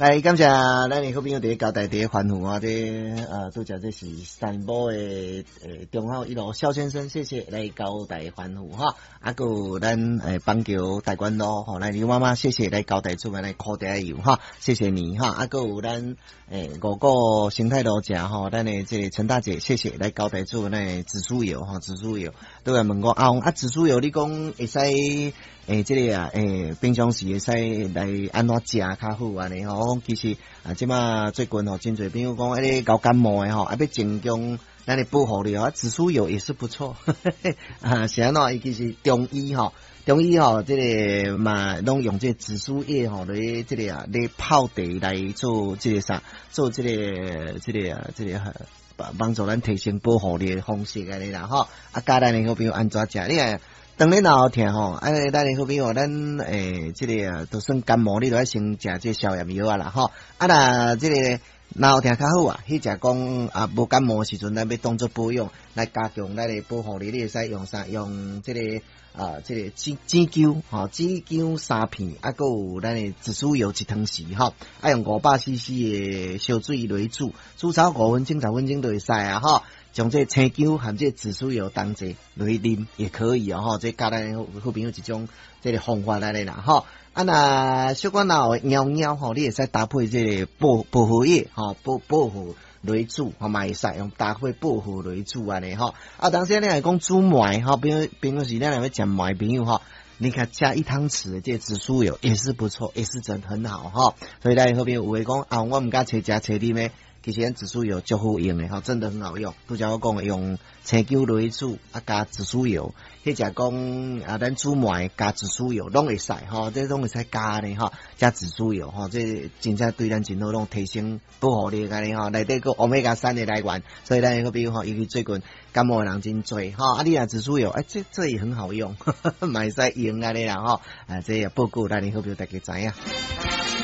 來感謝咱的好朋友佇交代佇咧歡呼啊！這拄才這是三寶的中孝一路蕭先生，謝謝來交代歡呼哈。啊，閣有咱板橋大觀路吼，咱劉媽媽謝謝來交代煮咱的苦茶油哈，謝謝你哈。啊，閣有咱五股生態路食吼，咱的這個陳大姐，謝謝來交代煮咱的紫蘇油吼，紫蘇油。都來問我阿翁啊，紫蘇油你講會使這個啊平常時會使來按怎食較好按呢吼？我講其實啊，這馬最近吼，真濟朋友講，彼個𠢕感冒的吼，啊欲增強咱的保護力啊，紫蘇油也是不錯。啊，是按怎？伊其實中醫吼，中醫吼，這個嘛攏用這個紫蘇葉吼來這個啊，來泡茶來做這個啥，做這個這個啊，這個幫助咱提升保護力的方式按呢啦吼。啊，教咱的好朋友按怎食？你看。當你腦疼吼，啊，咱的好朋友，咱這個啊，都算感冒，你都愛先食這個消炎藥啊啦吼。啊，若這個腦疼較好啊，彼者講啊，無感冒的時陣，咱欲當做保養來加強咱的保護力，你會使用啥？用這個啊，這個紫紫薑吼，紫薑三片，啊，閣有咱的紫蘇油一湯匙吼，啊，用500 cc 的燒水來煮，煮超5分鐘、10分鐘就會使啊吼。將這個青薑和這個紫蘇油同齊來啉也可以哦吼，這教咱好朋友一種這個方法來啦吼。啊，若小可若會貓貓吼，你會使搭配這個薄荷葉吼，薄荷來煮吼嘛會使用搭配薄荷來煮按呢吼。啊，當時你若講煮糜吼，比如是咱若欲食糜朋友吼，你看加一湯匙的這個紫蘇油也是不錯，也是真很好哈。所以咱好朋友有的講啊，我毋敢揣食揣啉的。其實咱紫蘇油足好用的吼，真的很好用。拄才我講的用青薑來煮，啊加紫蘇油，彼者講啊，咱煮糜加紫蘇油攏會使吼，這攏會使加呢吼，加紫蘇油吼，這真正對咱真好，攏提升保護力按呢吼，內底閣歐米伽三的來源，所以咱好比吼，尤其最近感冒的人真濟吼，啊你若紫蘇油，哎這也很好用，嘛會使用按呢啦吼，啊這也報告咱的好朋友大家知影。